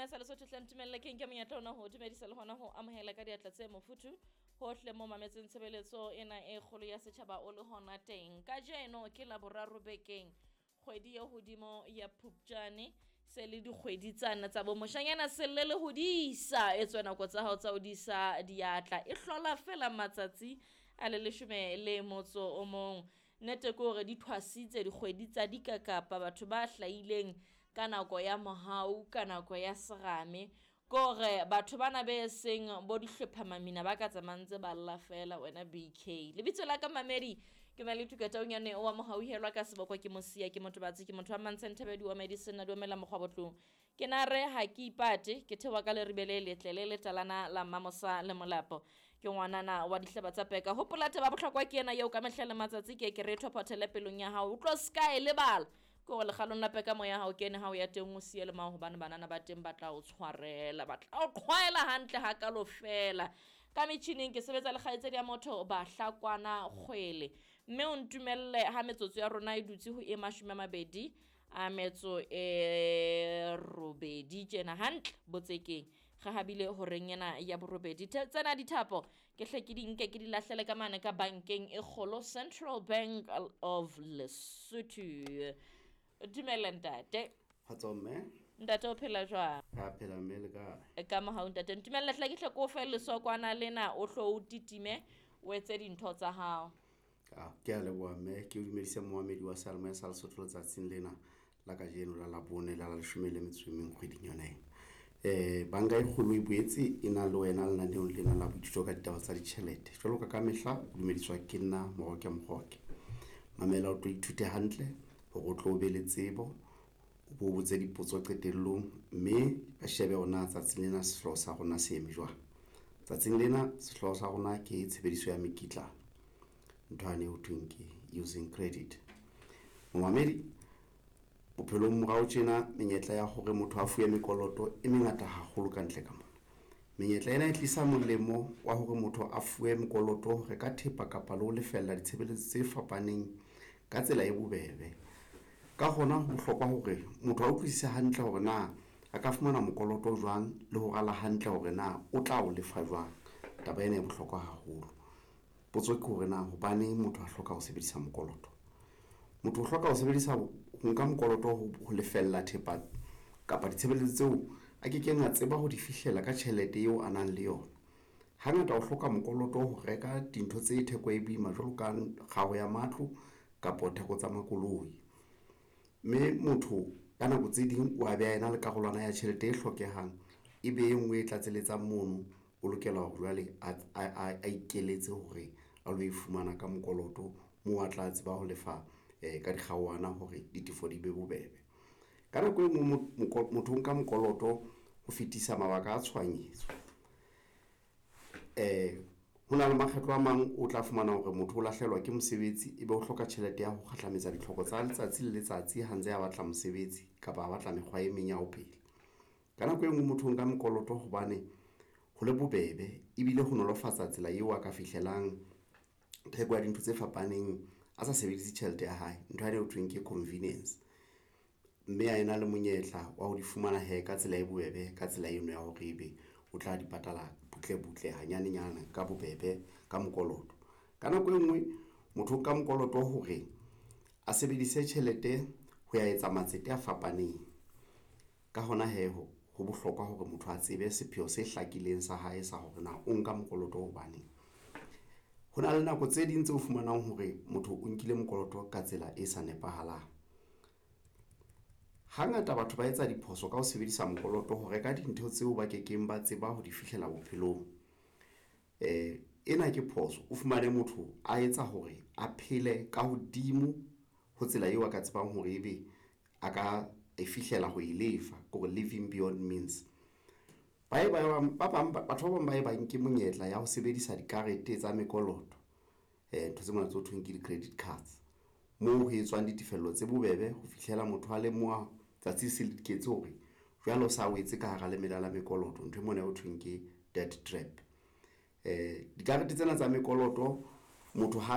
Seyalemoya sa Lesotho hle ntumelle ke nke monyetla ona ho dumedisa le hona ho amohela ka diatla tse mofuthu hohle mo mametseng tshebeletso ena e kgolo ya setjhaba o le hona teng. Kajeno ke la boraro bekeng kgwedi e hodimo ya Phupjane se le dikgwedi tsana tsa bo moshanyana selle le hodisa e tswe nako tsa hao tsa ho disa diatla e hlola fela matsatsi a le leshome le motso o mong. Nnete ke hore di thwasitse dikgwedi tsa dikakapa batho ba hlahileng ka nako ya mohau ka nako ya serame ke hore batho bana be seng bo dihlopha mamina ba ka tsamayang ntse ba lla fela wena BK. Lebitso la ka mamedi ke Maletuka Taunyane wa mohauhelwa ka seboko ke mosia ke motho batsi ke motho wa mantshenthabedi wa medicine a dumela mokgwa botlong. Ke na re ha ke ipate ke thewa ka leribe le letle le letalana la Mmamosa le Molapo. Ke ngwanana wa dihlaba tsa peka. Hopola taba bohlokwa ke ena eo ka mehla le matsatsi ke ke re thophothele pelong ya hao. O tlo ska e lebala. Ke hore lekgalong la peka moya ha o kene ha o ya teng o siye le mao hobane banana ba teng ba tla o tshwarela, ba tla o qhwaela hantle hakalo fela. Ka metjhining ke sebetsa le kgaitsedi ya motho Bahlakwana Kgwele. Mme o ntumelle ha metsotso ya rona e dutse ho e 28 a metso e robedi tjena hantle botsekeng. Re habile horeng ena ya borobedi. Tsena dithapo ke hle ke di nke ke di lahlele ka mane ka bankeng e kgolo Central Bank of Lesotho. Dumela ntate. Kgotso mme. Ntate o phela jwang? Ka phela mme le kae? Ka mohau ntate. Ntumelle hle ke hle ke o fe lesokwana lena o hlo o titime o etse dintho tsa hao. Ke a leboha mme, ke o dumedise moamedi wa Seyalemoya sa Lesotho letsatsing lena la kajeno la Labone la leshome le metso e meng kgweding yona ena. Banka e kgolo e boetse e na le wena lenaneong lena la boithuto ka ditaba tsa ditjhelete. Jwalo ka mehla o dumediswa ke nna Moroke Moroke. Mamela o tlo ithute hantle hore o tlo be le tsebo, o bo botse dipotso qetellong mme re shebe hore na tsatsing lena sehlooho sa rona se eme jwang. Tsatsing lena sehlooho sa rona ke tshebediso ya mekitlane, ntho yane ho thweng ke using credit. Momamedi, bophelong morao tjena menyetla ya hore motho a fuwe mekoloto e mengata haholo ka ntle ka mona. Menyetla ena e tlisa molemo wa hore motho a fuwe mokoloto ho reka thepa kapa le ho lefella ditshebeletso tse fapaneng ka tsela e bobebe. Ka hona ho bohlokwa hore motho a utlwisise hantle hore na a ka fumana mokoloto jwang le ho rala hantle hore na o tla o lefa jwang. Taba ena e bohlokwa haholo. Potso ke hore na hobaneng motho a hloka ho sebedisa mokoloto. Motho o hloka ho sebedisa ho nka mokoloto ho lefella thepa kapa ditshebeletso tseo a kekeng a tseba ho di fihlela ka tjhelete eo a nang le yona. Hangata o hloka mokoloto ho reka dintho tse theko e boima jwalo ka kgaho ya matlo kapa theko tsa makoloi. Mme motho ka nako tse ding o a be a ena le karolwana ya tjhelete e hlokehang, e be e nngwe e tlatseletsang mono, o lokela hore jwale a ikeletse hore a lo e fumana ka mokoloto moo a tla tseba ho lefa ka dikgaohana hore ditefo di be bobebe. Ka nako e nngwe motho o nka mokoloto ho fetisa mabaka a tshohanyetso. Ho na le makgetlo a mang o tla fumana hore motho o lahlehelwa ke mosebetsi ebe o hloka tjhelete ya ho kgahlametsa ditlhoko tsa letsatsi le letsatsi ha ntse a batla mosebetsi kapa a batla mekgwa e meng ya ho phela. Ka nako e nngwe motho o nka mokoloto hobane ho le bobebe ebile ho nolofatsa tsela eo a ka fihlelang theko ya dintho tse fapaneng a sa sebedise tjhelete ya hae, ntho eo thweng ke convenience. Mme a ena le monyetla wa ho di fumana he ka tsela e bobebe, ka tsela eno ya hore ebe o tla di patala butle butle hanyanenyana ka bobebe ka mokoloto. Ka nako e nngwe motho o nka mokoloto hore a sebedise tjhelete ho ya etsa matsete a fapaneng. Ka hona he ho bohlokwa hore motho a tsebe sepheo se hlakileng sa hae sa hore na o nka mokoloto hobaneng. Ho na le nako tse ding tse o fumanang hore motho o nkile mokoloto ka tsela e sa nepahalang. Hangata batho ba etsa diphoso ka ho sebedisa mokoloto ho reka dintho tseo ba kekeng ba tseba ho di fihlela bophelong. Ena ke phoso. O fumane motho a etsa hore a phele ka hodimo ho tsela eo a ka tsebang hore ebe a ka e fihlela ho e lefa, kore living beyond means. Ba bang batho ba bang ba e bang ke monyetla ya ho sebedisa dikarete tsa mekoloto, ntho tse mona tse ho thweng ke di-credit cards, moo ho etswang ditefello tse bobebe ho fihlela motho a lemoha tsatsi se le diketse hore jwale o sa wetse ka hara lemela la mekoloto, ntho e mona ho thweng ke debt trap. Dikarete tsena tsa mekoloto motho ha